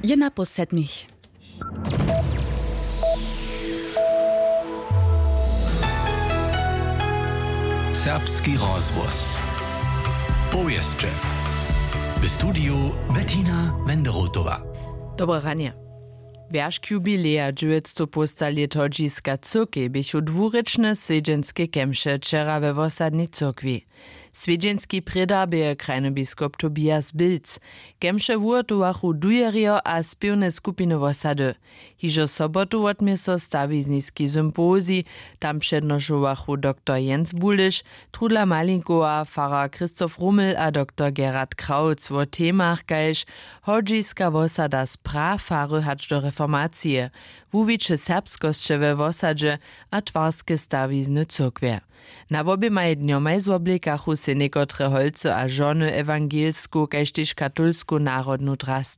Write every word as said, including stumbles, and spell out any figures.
Je na pół sedmich. Serbski rozhłos. Powěsće. W studiju Bettina Wenderotowa. Dobre ranje. Wjeršk jubileja dźewjećstow połsta lět hodźiska cyrkej běchu dwurěčne swjedźenske kemše wčera we wosadnej cyrkwi. Swjedźenski prědar bě krajny biskop Tobias Bilc. Kemše wuhotowachu dujerjo a spěwne skupiny wosady. Hižo sobotu wotmě so stawizniski sympozij. Tam přednošowachu doktor Jens Buliš, Trudla Malinkowa, farar Christoph Ruml a doktor Gerhard Krautz wo temach kaž hodźiska wosada z prafary hač do reformacije, wuwiće serbskosće we wosadźe a twarske stawizny cyrkwje. Na woběmaj dnjomaj zwoblikachu sej někotre holcy a žony ewangelsku kaž tež katolsku narodnu drast.